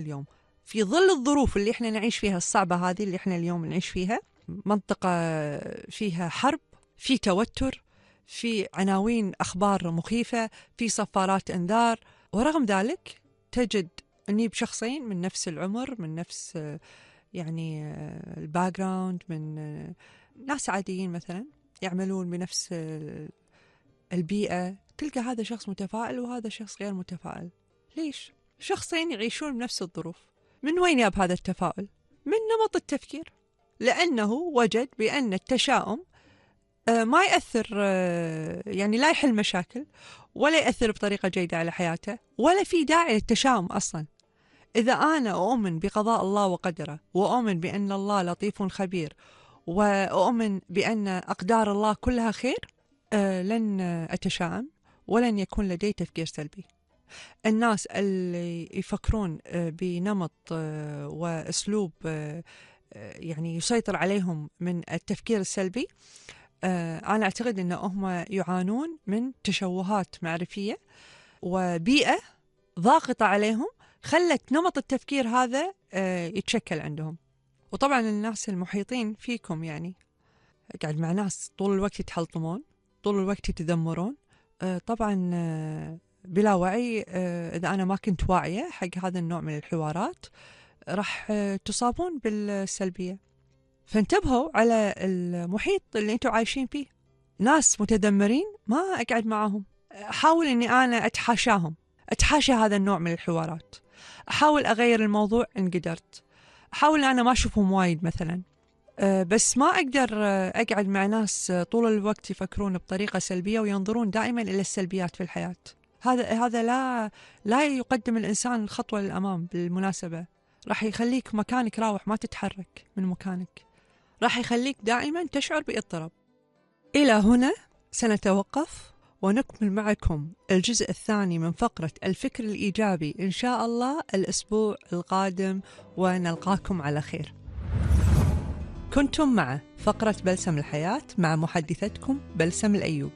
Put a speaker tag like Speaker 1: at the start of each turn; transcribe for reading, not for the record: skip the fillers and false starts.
Speaker 1: اليوم في ظل الظروف اللي احنا نعيش فيها الصعبة هذه اللي احنا اليوم نعيش فيها، منطقة فيها حرب، في توتر، في عناوين أخبار مخيفة، في صفارات إنذار، ورغم ذلك تجد أني بشخصين من نفس العمر، من نفس يعني الباك جراوند، من ناس عاديين مثلا يعملون بنفس البيئة، تلقى هذا شخص متفائل وهذا شخص غير متفائل. ليش؟ شخصين يعيشون بنفس الظروف. من وين ياب هذا التفاؤل؟ من نمط التفكير، لأنه وجد بأن التشاؤم ما يأثر، يعني لا يحل مشاكل ولا يأثر بطريقة جيدة على حياته، ولا في داعي للتشاؤم أصلا. إذا أنا أؤمن بقضاء الله وقدره، وأؤمن بأن الله لطيف خبير، وأؤمن بأن أقدار الله كلها خير، لن أتشائم ولن يكون لدي تفكير سلبي. الناس اللي يفكرون بنمط وأسلوب يعني يسيطر عليهم من التفكير السلبي، أنا أعتقد أنهم يعانون من تشوهات معرفية وبيئة ضاغطة عليهم، خلت نمط التفكير هذا يتشكل عندهم. وطبعا الناس المحيطين فيكم يعني قاعد مع ناس طول الوقت يتحلطمون، طول الوقت يتذمرون، طبعا بلا وعي. إذا أنا ما كنت واعية حق هذا النوع من الحوارات راح تصابون بالسلبية. فانتبهوا على المحيط اللي انتوا عايشين فيه. ناس متذمرين ما أقعد معهم، أحاول أني أنا أتحاشاهم، أتحاشى هذا النوع من الحوارات، أحاول أغير الموضوع إن قدرت، أحاول أنا ما أشوفهم وايد مثلا. بس ما أقدر أقعد مع ناس طول الوقت يفكرون بطريقة سلبية وينظرون دائما إلى السلبيات في الحياة. هذا لا يقدم الإنسان الخطوة للأمام. بالمناسبة راح يخليك مكانك راوح، ما تتحرك من مكانك، راح يخليك دائما تشعر باضطراب. إلى هنا سنتوقف ونكمل معكم الجزء الثاني من فقرة الفكر الإيجابي إن شاء الله الأسبوع القادم، ونلقاكم على خير. كنتم مع فقرة بلسم الحياة مع محدثتكم بلسم الأيوب.